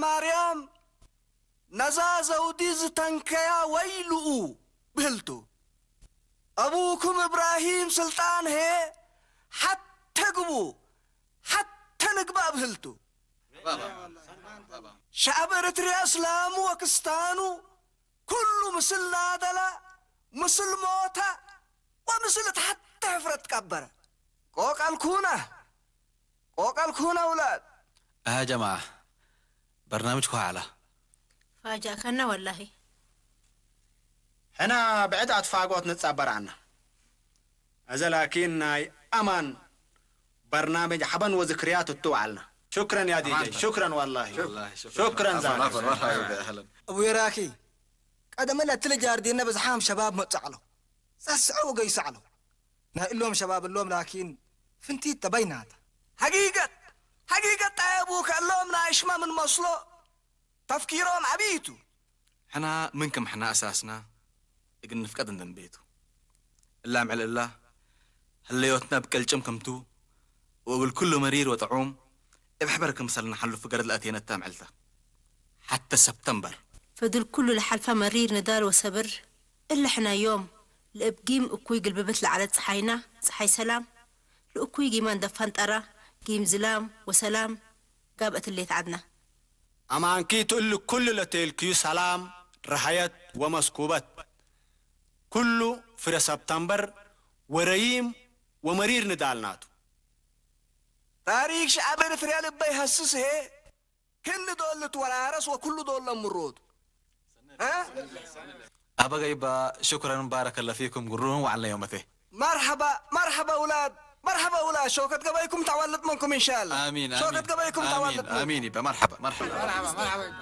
ማርያም ነዛ ዘውዲ ዝተንከያ ወይልኡ ብህልቱ። ኣቡኩም እብራሂም ስልጣን ሄ ሓተ ግቡ ሓተ ንግባእ ብህልቱ። ሸዓብ ኤርትርያ እስላሙ ወክስታኑ ኩሉ ምስል ናደላ ምስል ሞታ ወምስል ተሓተ ሕፍረት ቀበረ። ቆቃል ኩና ቆቃል ኩና ውላድ። ها جماعة برنامجكم على ፋጃእካና ወላሂ። ሕና ብዕድ ኣትፋጎት ንጻበራና። እዚ ላኪን ናይ ኣማን በርናመጅ ሓበን ወዝክርያት እትውዓልና። ሽክረን ያ ዲጀይ ሽክረን ዋላሂ። ሽክረን ዛኪ። እቡየራኪ ቀደመ ለትለ ጃርዲነ ብዝሓም ሸባብ መጻዕሎ ሰስዐ ወገይሳዕሎ ናይ እሎም ሸባብ እሎም ላኪን ፍንቲት ተበይናታ ሐቂቀት ሐቂቀት ጣየቡ ከሎም ናይ ሽማ ምን መስሎ ተፍኪሮም ዓብይቱ ሕና ምን ከም ሕና ኣሳስና እግን ንፍቀድ እንደንቤቱ እላ ምዕል እላ ህለዮትና ብቀልጭም ከምቱ ወብል ኩሉ መሪር ወጥዑም እብ ሕበር ክምሰል ንሓልፉ ገረድ ለኣቴነታ ምዕልታ ሓተ ሰብተምበር ፈድል ኩሉ ለሓልፋ መሪር ንዳል ወሰብር እለ ሕና ዮም ለእብ ጊም እኩይ ግልብብት ለዓለት ፀሓይና ፀሓይ ሰላም ለእኩይ ጊማን ደፋን ጠራ ጊም ዝላም ወሰላም ጋብ እትሌት ዓድና ኣማንኪ ትእሉ ኩሉ ለቴልክዩ ሰላም ረሃየት ወመስኩበት ኩሉ ፍረ ሰብተምበር ወረይም ወመሪር ንዳል ናቱ። ታሪክ ሸዓብ ኤርትርያ ልበይ ሀስስ ሄ ክኒ ዶል ልትወራረስ ወኩሉ ዶል ለምሮቱ ኣበ ገይባ ሽኩረን ባረከለ ፊኩም ግሩም ዋዕልና ዮመቴ መርሐባ መርሐባ ውላድ መርሐባ ውላድ ሸውከት ገበይኩም ተዋልጥ መንኩም እንሻላ አሚን ሸውከት ገበይኩም ተዋልጥ አሚን ይባ መርሐባ መርሐባ